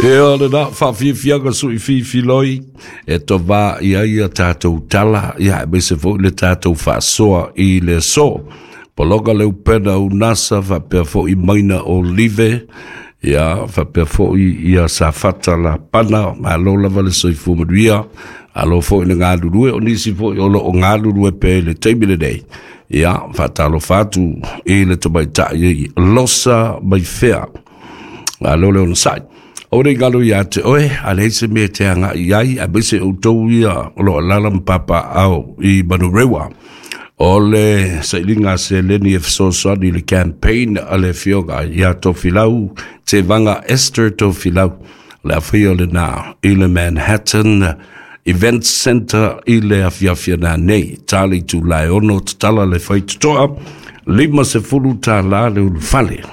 Ia lena faafiafiaga sui fifiloi e tovā i ai a tatou tala, ia aemaise foi le tatou faasoa i le aso. Pologa le upena unasa faapea foi maina o live, ia faapea foi ia Safata Lapana, malo lava le soifua manuia, alo foi le galulue, o nisi foi o loo galulue pea i le taimi lenei. Ia faatalofa atu i le tamaitai Losa Maifea, malo le onosai. O le galo ia te oe, a leai se mea e te agai i ai, aemaise outou ia o lo o alaala ma papaaao i Manurewa. O le sailiga a seleni e fesoasoani i le campaign a le afioga ia Tofilau Tevaga Esther Tofilau, o le afaia lena i le Manhattan Event Center i le afiafi ana nei. Ta le itula e 6 tatala le faitotoa, $50 le ulufale.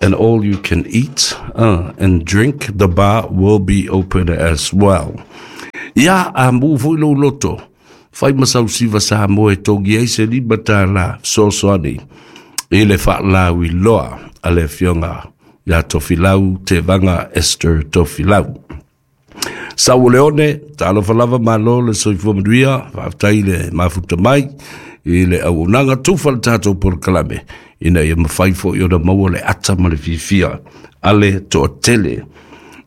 And all you can eat and drink, the bar will be open as well. Ia, a mu foi lou loto, fai ma sau siva Samoa e togi ai se $5 fesoasoani i le faalauiloa a le afioga ia Tofilau Tevaga Esther Tofilau. Sau o Leone, talofa lava malo le soifua manuia, faafetai le mafuta mai i le auaunaga tufa le tatou polokalame, ina ia mafai foi ona maua le ata ma le fiafia a le toatele.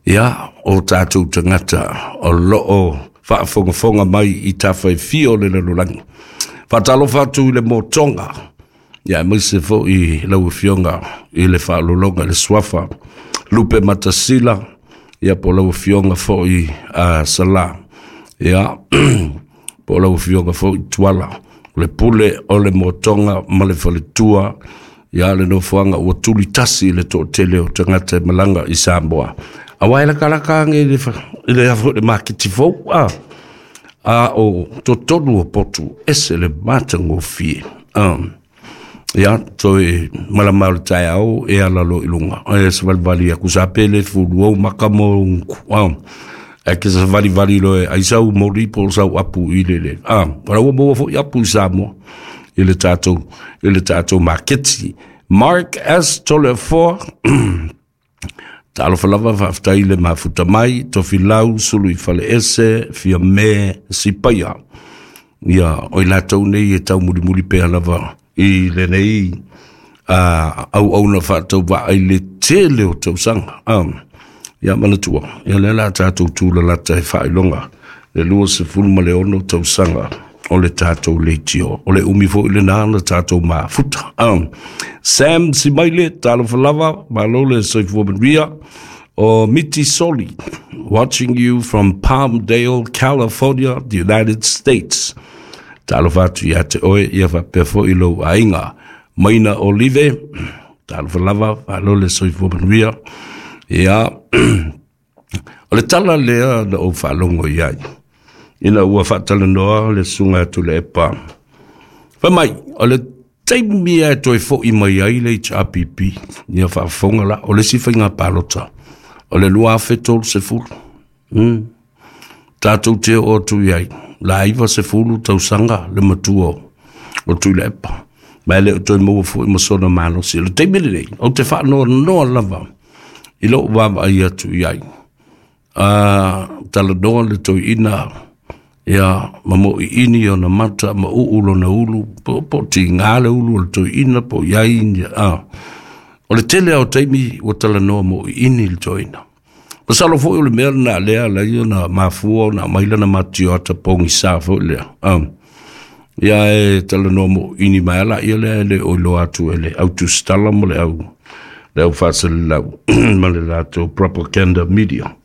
Ia, o tatou tagata o loo faafogafoga mai i tafa e fia o le lalolagi. Faatalofa atu i le motoga, ia aemaise foi lau afioga i le faalologa i le suafa Lupe Matasila, ia po lau afioga foi a Sala, ia po lau afioga foi Tuala, o le pule o le motoga ma le faletua, ia le nofoaga ua tuli tasi le toatele o tagata e malaga i Samoa. Aua e lakalaka age i le afo le maketi fou, a o totonu o potu ese le matagofie. Ia, toe malama o le taeao e ala loa i luga. E savalivali aku sa pele fulu au maka mo unku. E ke savalivali loa e ai sau moli po o sau apu i le le. Ora ua maua foi apu i Samoa i le tatou maketi. Mark S. Toleafoa, talofa lava faafetai le mafuta mai, Tofilau, Sulu i Faleese, Fiame, Sipaia. Ia, o i latou nei e taumulimuli pea lava i lenei auauna faatauvaa i le tele o tausaga. Ia manatua, ia lea la tatou tulalata e faailoga le 26 tausaga o le tatou leitio. O le umi foi lena na tatou mafuta. Sam Simaile, talofa lava, malo le soifua manuia. O Miti Soli, watching you from Palmdale, California, the United States. Talofa atu ia te oe, ia faapea foi lou aiga. Maina Olive, talofa lava, malo le soifua manuia. Ia, o le tala lea na ou faalogo i ai, ina ua faatalanoa le susuga atu le epa. Fai mai, o le taimi e toe foi mai ai le HRPP, ia faafofoga la, o le isi faiga palota, o le 2030. Tatou te oo atu i ai, la 90 tausaga le matua o Tuilaepa. Ma e le o toe maua foi ma sona malosi. O le taimi lenei, ou te faanoanoa lava i lou vaavaai atu i ai. Talanoa le toeaina, ia ma moiini ona mata ma uu lona ulu, po tiga le ulu o le toeaina, po i ai, O le tele o taimi ua talanoa moiini le toeaina. Masalo foi o le mea lena lea lai ona mafua ona aumai lana matioata pogisa foi lea. Ia e talanoa moiini mai ala ia lea e le o iloa atu e le autusitala ma le au faaselelau ma le latou propaganda media.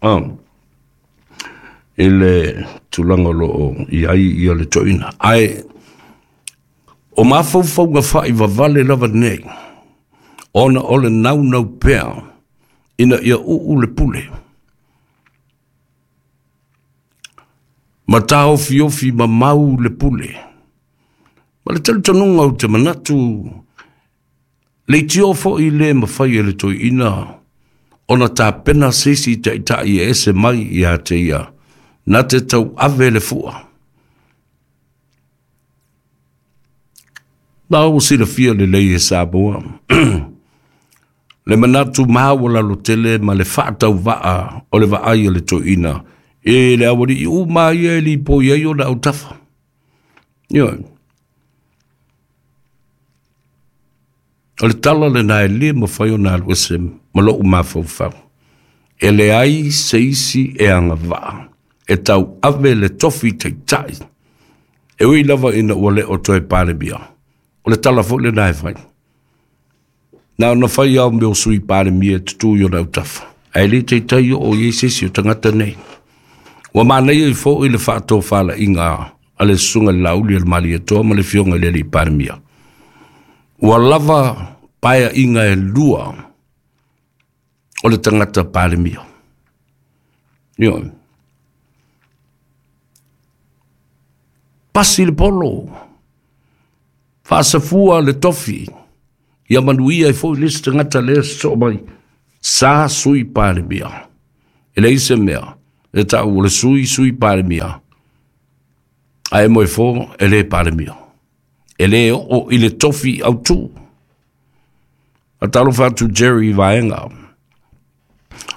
I le tulaga o loo i ai ia le toeaina. Ae o mafaufauga faivavale lava nei, ona o le naunau pea ina ia uu le pule. Ma taofiofi mamau le pule. Ma le talitonuga ou te manatu, leitio foi le mafai e le toeaina ona tapena se isi taitai e ese mai ia te ia, na te tau ave le fua. Na ua silafia lelei e Samoa. Le manatu maualalo tele ma le faatauvaa o le vaai a le toeaina e le aualii uma ia e lipoi ai ona autafa. Ioe. O le tala lena e le mafai ona alu ese ma lou mafaufau. E leai se isi e agavaa e tauave le tofi taitai e ui lava ina ua le o toe Palemia. O le tala foi lena e fai. Na ona fai lava o mea o sui Palemia e tutu i ona autafa, ae le taitai oo i ai se isi o tagata nei. Ua manaia ai foi le faatofalaiga a le susuga i le Laauli a le Malietoa ma le Afioga i le Alii Palemia. Ua lava paeaiga e lua o le tagata Palemia. Ioe. Pasi le polo, faasafua le tofi, ia manuia ai foi le isi tagata lea sosoo mai, sa sui Palemia. E leai se mea e tau o le sui sui Palemia, ae moe fo e le Palemia. E le oo i le tofi autu. Talofa atu Jerry Vaega.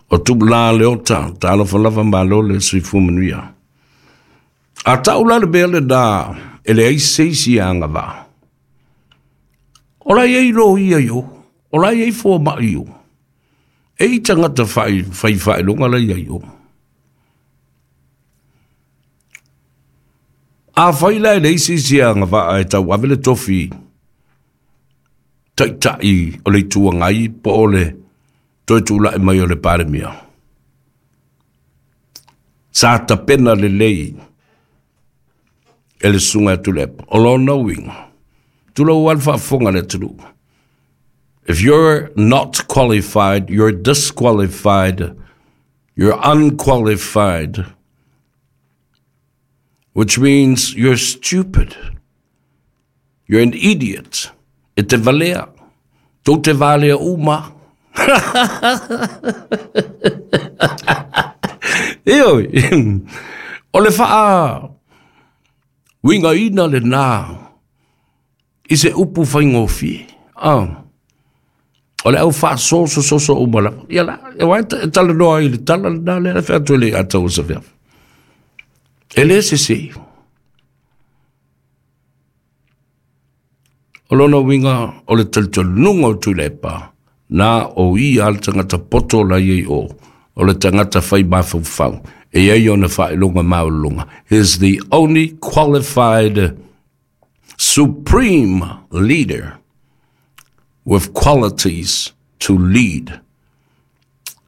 O Tupula Leota, talofa lava malo le soifua manuia. A tau la le mea lena e leai se isi e agavaa. O la e i ai loia i o, o la e i ai fomai i o. E i tagata fai faailoga la e i ai i o. Afai la e leai se isi e agavaa e tauave le tofi taitai o le Itu Agai po o le toe tulai mai o le Palemia, sa tapena lelei e le susuga ia Tuilaepa. O lona uiga, tulou lava le faafofoga a le atunuu, if you're not qualified, you're disqualified, you're unqualified, which means you're stupid, you're an idiot. E te valea, tou te valea uma. Ioe, o le faa uigaina lena i se upu faigofie. Ah. O le au faasosososo uma lava. Ia la, e wa e talanoa ai i le tala lena lea e fai atu e le Atau o Safiafi. E le sese. O lona uiga o le talitonuga o Tuilaepa, na o ia le tagata poto la i ai o, o le tagata fai mafaufau, e i ai ona faailoga maualuluga. He is the only qualified supreme leader with qualities to lead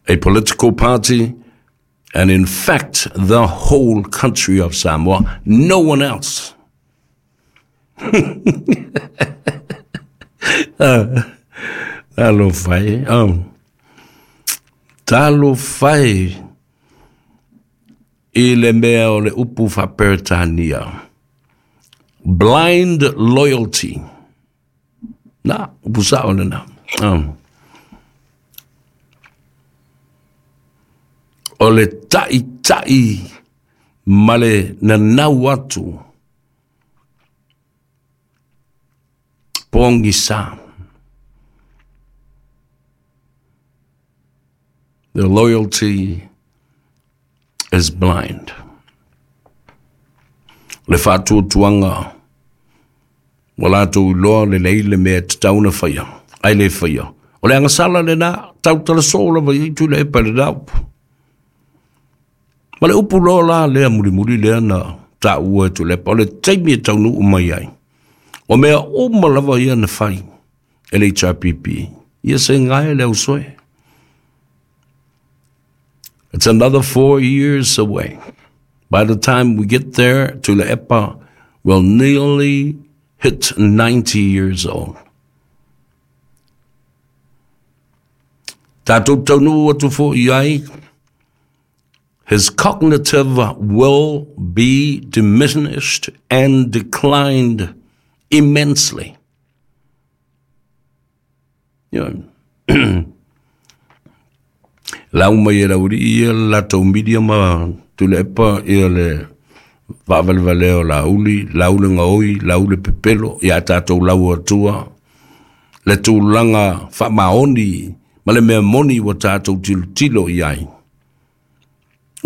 a political party and in fact the whole country of Samoa, no one else. Talofa e. Talofa e i le mea o le upu faa-Peretania. Blind loyalty. Na, upu sao lena. O le ta'ita'i ma le nanau atu pogisa. The loyalty is blind. Le faatuatuaga ua latou iloa lelei le mea e tatau ona faia, ae le faia. O le agasala lena, tautala soo lava i ai Tuilaepa i lena upu. Ma le upu loa la lea mulimuli lea na taua e Tuilaepa, o le taimi e taunuu mai ai. O mea uma lava ia na fai e le HRPP, ia se gae le ausoe. It's another 4 years away. By the time we get there, Tuilaepa will nearly hit 90 years old. Tatou taunuu atu foi ai, his cognitive will be diminished and declined immensely. You know, lau mai e Laulii ia le latou media ma Tuilaepa ia le faavalevalea o Lauli, lau le gaoi, lau le pepelo, ia tatou lau atua, le tulaga faamaoni Ma le mea moni ua tatou tilotilo i ai,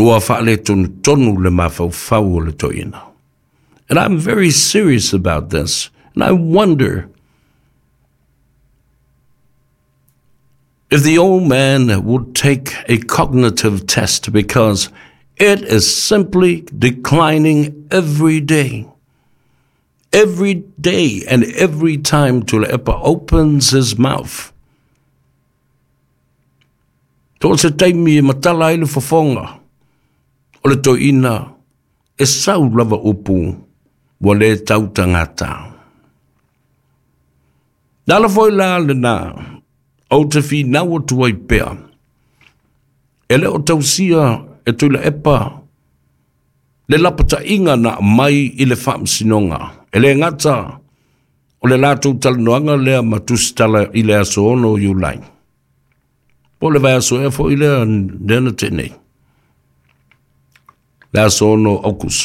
ua faaletonu le mafaufau o le toeaina. And I'm very serious about this. And I wonder if the old man would take a cognitive test, because it is simply declining every day. Every day and every time Tuilaepa opens his mouth. So o se taimi e matala ai le fofoga o le toeaina, e sau lava upu ua le tautagata. Le ala foi la lena ou te finau atu ai pea, e le o tausia e Tuilaepa le lapataiga na aumai i le faamasinoga. E le gata o le latou talanoaga lea ma Tusitala i le aso 6 Iulai, po o le vaiaso ea foi lea na tea nei, le aso 6 Aokuso.